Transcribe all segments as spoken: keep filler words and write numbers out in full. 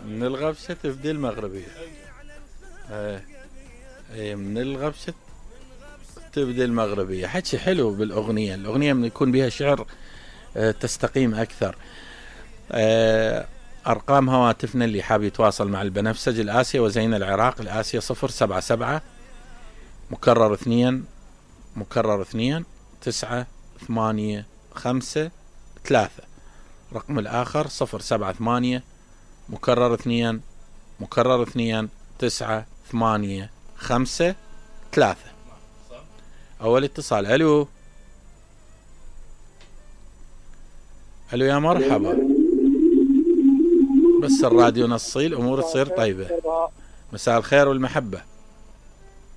من الغبشة تبدي المغربية. ايه ايه من الغبشة تبدي المغربية. حكي حلو بالاغنية. الاغنية من يكون بها شعر اه تستقيم اكثر. اه ارقام هواتفنا اللي حاب يتواصل مع البنفسج الآسيا وزين العراق الآسيا صفر سبعة سبعة مكرر اثنين مكرر اثنين تسعة ثمانية خمسة ثلاثة. رقم الآخر صفر سبعة ثمانية مكرر اثنين مكرر اثنين تسعة ثمانية خمسة ثلاثة. أول اتصال. ألو ألو يا مرحبا. بس الراديو نصي الأمور تصير طيبة. مساء الخير والمحبة.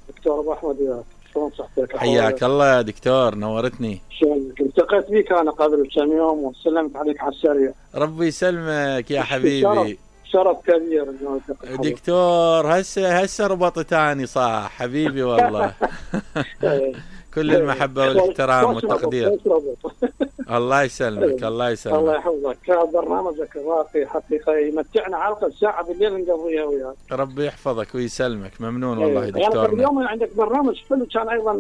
دكتور أبو أحمد وياك، شلون صحتك؟ حياك الله يا دكتور، نورتني. شلونك؟ التقيت بيك أنا قبل كم يوم وسلمت عليك على السريع. ربي يسلمك يا حبيبي. شرف, شرف كبير دكتور. هسه هسه ربط تاني صح حبيبي والله. كل المحبة والاحترام والتقدير. الله يسلمك الله يسلمك. الله يحفظك. برنامجك الراقي حقيقة يمتعنا حلقة ساعة بالليل نقضيها وياك. ربي يحفظك ويسلمك. ممنون والله دكتورنا. يعني اليوم عندك برنامج حلو كان أيضا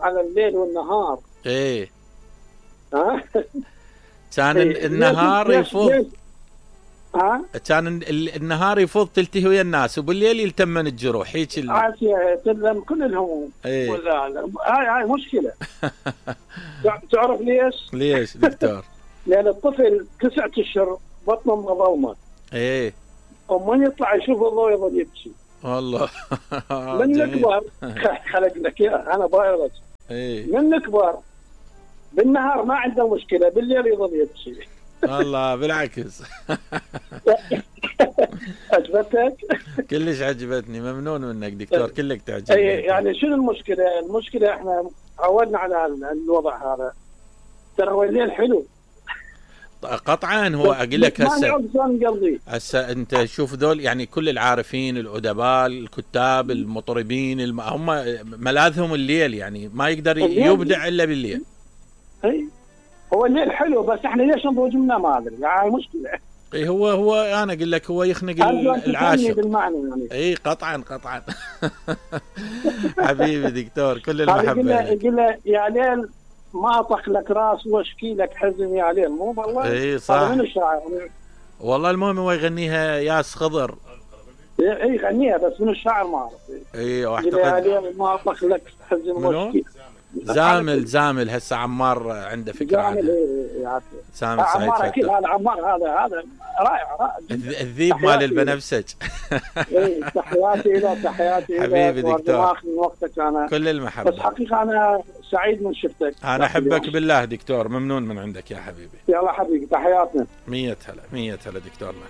على الليل والنهار. ايه ها كان النهار يفوض. ها كان النهار يفوض تلتهي ويا الناس وبالليل يلتمن الجروح هيك ال... عافية تلم كل الهموم. ايه ولا لا هاي هاي مشكلة. تعرف ليش؟ ليش دكتور؟ لأن الطفل تسعة اشهر بطنه مظلمة. ايه ومن يطلع يشوف الضوء يظل يبكي. والله. من نكبر خلق لك اياه انا بايرج. ايه من نكبر بالنهار ما عنده مشكلة، بالليل يظل يبكي. والله بالعكس. عجبتك؟ كلش عجبتني. ممنون منك دكتور. كلك تعجبني. يعني شنو المشكلة؟ المشكلة احنا عودنا على الوضع هذا. ترى هو الليل حلو قطعا. هو اقول لك هسه قلبي هسه انت شوف ذول يعني كل العارفين الادباء الكتاب المطربين الم... هم ملاذهم الليل، يعني ما يقدر يبدع الا بالليل. اي هو الليل حلو بس احنا ليش نضوج منه ما ادري، يعني مشكله. اي هو هو انا اقول لك هو يخنق العاشق. يعني. اي قطعا قطعا. حبيبي دكتور كل المحبه. يقول له يا ليل ما اطخ لك راس واشكي لك حزن يا ليل، مو والله. اي صح. من الشاعر والله المهم هو يغنيها ياس خضر. اي يغنيها بس من الشاعر ما اعرف. اي واعتقد يا ليل ما اطخ لك حزن واشكي. زامل زامل هسه عمار عنده فكره عنه. زامل سعيد عمار اكيد هذا عمار هذا هذا رائع رائع. الذيب مال البنفسج. اي تحياتي له تحياتي حبيبي دكتور. من وقتك انا كل المحبه. بس حقيقه انا سعيد من شفتك. انا احبك بالله دكتور. ممنون من عندك يا حبيبي. يلا حبيبي تحياتنا. مية هلا مية هلا دكتورنا.